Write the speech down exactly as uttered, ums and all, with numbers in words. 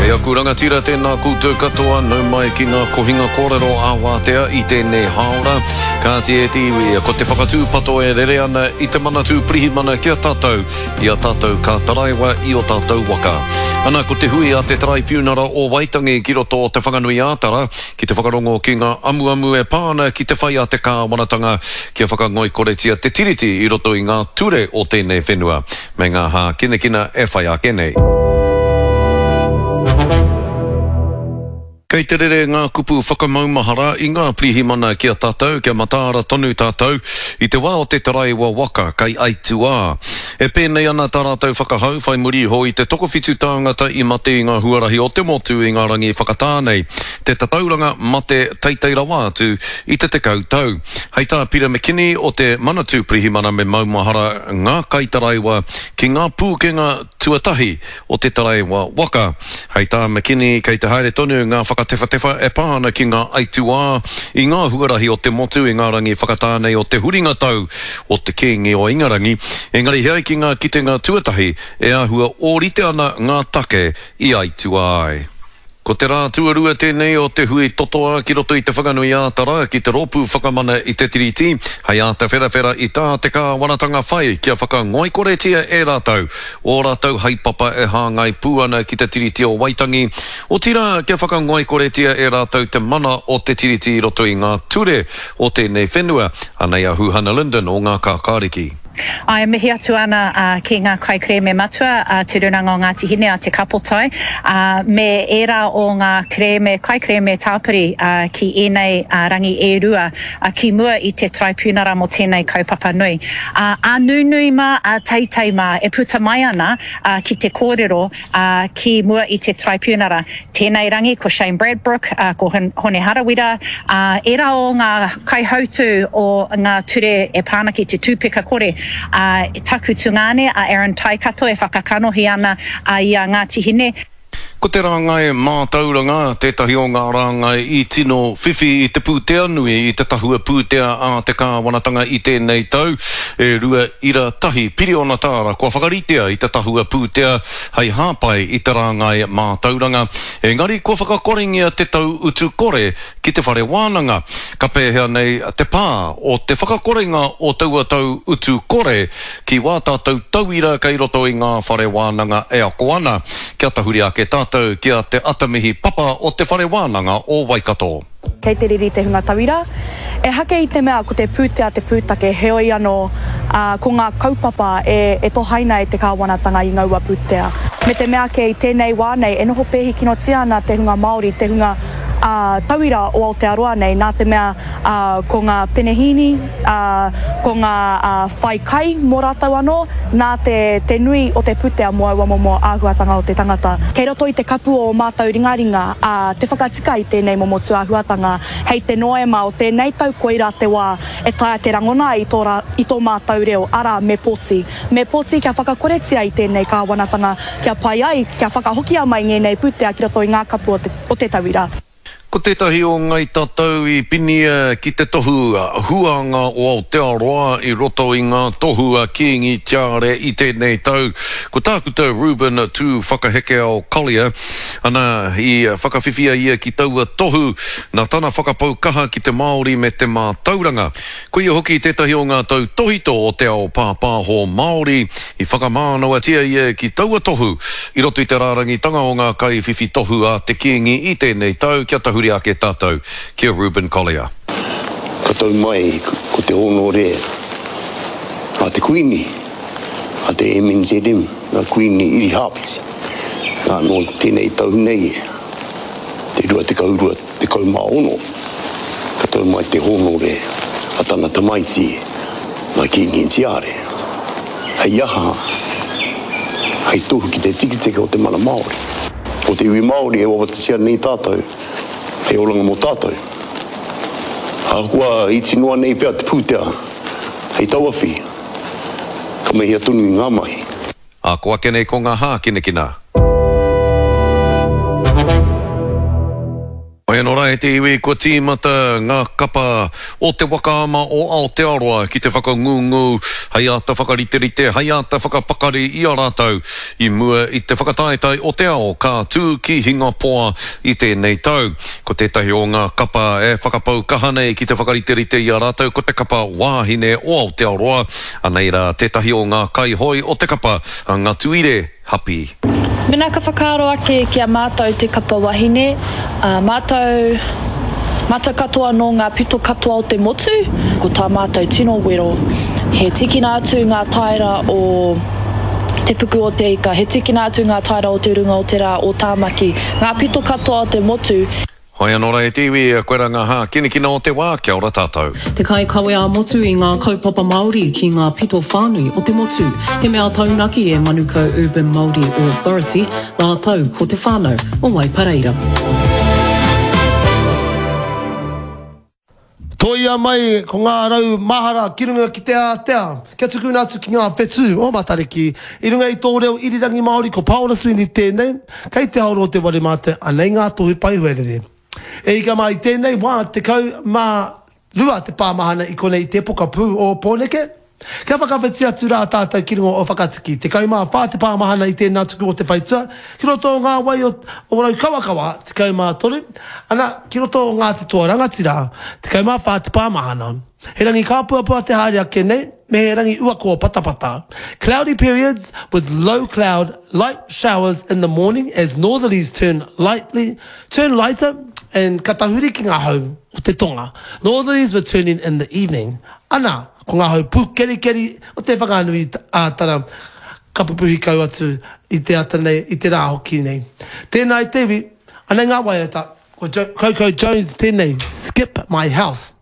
E aku rangatira, tēnā koutou katoa, nau mai ki ngā kohinga kōrero ā-wātea i tēnei hāora. Kāti e te iwi, ko te whakatūpato e rere ana i te Manatū Pirihimana ki a tātou, i a tātou ka taraiwa i o tātou waka. Ana, ko te hui a te Taraipiunara o Waitangi ki roto o Te Whanganui-ā-Tara, ki te whakarongo ki ngā amuamu e pā ana ki te whai a te kāwanatanga kia whakangoikoretia te Tiriti i roto i ngā ture o tēnei whenua, me ngā hākinakina e whai ake nei. Kei te rere ngā kupu whakamaumahara i ngā pirihimana ki a tātou kia mataara tonu tātou i te wā o te taraiwa waka kei aituā. E pēnei ana tā rātou whakahau whai muri iho i te tokowhitu tāngata i mate i ngā huarahi o te motu i ngā rangi whakatā nei, te tatauranga mate teitei rawa atu i te tekau tau. Hei tā Peter McKinney o te Manatū Pirihimana me maumahara ngā kaitaraiwa ki ngā pūkenga tuatahi o te taraiwa waka. Hei tā McKinney kei te haere tonu ngā whakatewhatewha e pā ana ki ngā aituā i ngā huarahi o te motu i ngā rangi whakatā nei o te huringa tau o te Kīngi o Ingarangi, engari he ai ki ngā kitenga tuatahi e āhua ōrite ana ngā take i aituā ai. Ko te rā tuarua tēnei o te hui totoa ki roto i Te Whanganui-ā-Tara ki te Rōpū Whakamana i te Tiriti hei āta wherawhera i tā te kāwanatanga whai kia whakangoikoretia e rātou ō rātou haepapa e hāngai pū ana ki te Tiriti o Waitangi, otirā kia whakangoikoretia e rātou te mana o te Tiriti i roto i ngā ture o tēnei whenua. Anei a Huhana Lyndon o Ngā Kākāriki. Āe, mihi atu ana ki ngā kaikerēme matua a Te Rūnanga o Ngāti Hine, a Te Kapotai, me ērā o ngā kerēme, kaikerēme tāpiri ki ēnei rangi e rua ki mua i te Taraipiunara mō tēnei kaupapa nui. Ā nunui mā, ā teitei mā e puta mai ana ki te kōrero ki mua i te Taraipiunara. Tēnei rangi ko Shane Bradbrook, ko Hone Harawira, ērā o ngā kaihautū o ngā ture e pā ana ki te tūpeka kore. Ā, taku tungāne a Aaron Taikato e whakakanohi ana i a Ngāti Hine. Ko te rāngai mātauranga tētahi o ngā rāngai i tino whiwhi i te pūtea nui i te tahua pūtea a te kāwanatanga i tēnei tau, e rua ira tahi piriona tāra kua whakaritea i te tahua pūtea hei hāpai i te rāngai mātauranga, engari kua whakakorengia te tau utu kore ki te whare wānanga. Ka pēhea nei te pā o te whakakorenga o taua tau utu kore ki wā tātou tauira kei roto i ngā whare wānanga e ako ana? Kia tahuri ake tātou ki a Te Atamihi Papa o Te Whare Wānanga o Waikato. Kei te riri te hunga tauira. Ehake i te mea ko te pūtea te pūtake, heoi anō, ā, ko ngā kaupapa e, e tohaina e te kāwanatanga i ngaua pūtea. Me te mea ake i tēnei wā nei e noho pēhi kinotia ana te hunga Māori, te hunga, ā, tauira o Aotearoa nei, nā te mea, ā, ko ngā penehīni, ā, ko ngā, ā, whai kai mō rātou anō, nā te, te nui o te pūtea mō aua momo āhuatanga o te tangata. Kei roto i te kapu o ō mātou ringaringa, ā, te whakatika i tēnei momo tūāhuatanga, hei te Noema o tēnei tau koirā te wā e taea te rangona ai i tō rā, i tō mātou reo, arā, me pōti. Me pōti kia whakakoretia i tēnei kāwanatanga, kia pai ai, kia whakahokia mai ngēnei pūtea ki roto i ngā kapu o te, o te tauira. Ko tētahi o Ngai Tatau i pinia ki te tohu huanga o Aotearoa i roto i ngā tohu a Kīngi Tiare i tēnei tau, ko Tākuta Reuben Tūwhakahekeao Collier. Ana, i whakawhiwhia ia ki taua tohu nā tana whakapau kaha ki te Māori me te mātauranga. Ko ia hoki tētahi o ngā tautōhito o te ao pāpāho Māori i whakamānawatia ia ki taua tohu i roto i te rārangitanga o ngā kaiwhiwhi tohu a te Kīngi i tēnei tau kia tahuri ake tātou ki a Reuben Collier. Ka tau mai ko te hōnore a te Kuini, a te M N Z M, a Kuini Irihāpeti. Nā, nō tēnei tau nei, te rua tekau rua tekau mā ono, ka tau mai te hōnore a tana tamaiti, a Kīngi Tiare. Hei aha? Hei tohu ki te tiketike o te mana Māori. Ko te iwi Māori e wawatatia nei tātou, hei oranga mō tātou. Ahakoa iti noa nei pea te pūtea hei tauawhi, ka mahia tonu i ngā mahi. Ā, ko ake nei ko ngā hākinakina. Hoi anō rā e te iwi, kua tīmata ngā kapa o te waka ama o Aotearoa ki te whakangungu hei āta whakariterite, hei āta whakapakari i a rātou i mua i te whakataetae o te ao ka tū ki Hingapoa i tēnei tau. Ko tētahi o ngā kapa e whakapau kaha nei ki te whakariterite i a rātou ko te kapa wāhine o Aotearoa. Anei rā tētahi o ngā kaihoe o te kapa, a Ngatuire Hapi. Mena ka whakaaro ake ki a mātou te kapa wahine, ā, mātou, mātou katoa nō ngā pito katoa o te motu, ko tā mātou tino wero, he tikina atu ngā taera o Te Puku o Te Ika, he tikina atu ngā taera o Te Runga o Te Rā, o Tāmaki, ngā pito katoa o te motu. Hoi anō rā e te iwi, koirā ngā hākinakina o te wā, kia ora tātou. Te kaikawe ā-motu i ngā kaupapa Māori ki ngā pito whānui o te motu. He mea taunaki e Manukau Urban Māori Authority rātou ko te whānau o Waipareira. Toia mai ko ngā rau mahara ki runga ki te ātea, kia tukuna atu ki ngā whetū o Matariki. I runga i tō reo irirangi Māori ko Paora Sweeney tēnei, kei te haoro o te ware mātou, anei ngā tohu paihuarere. E ika mā i tēnei wā tekau mā rua te pāmahana i konei i te pokapū o Pōneke. Kia whakawhiti atu rā tātou ki runga o Whakatiki, tekau mā whā te pāmahana i tēnā tuku o te whaitua, ki roto o ngā wai o Raukawakawa, tekau mā toru, ana, ki roto o Ngāti Toa Rangatira, tekau mā whā te pāmahana. He rangi kāpuapua te haere ake nei, me he rangi uakoa patapata. Cloudy periods with low cloud, light showers in the morning as northerlies turn lightly, turn lighter and ka tahuri ki ngā hau o te tonga. Northerlies returning in the evening. Ana, ko ngā hau pūkerikeri o Te Whanganui a Tara ka pupuhi kau atu i te ata nei, i te rā hoki nei. Tēnā e te iwi, anei ngā waiata, ko Coco Jones tēnei, Skip My House.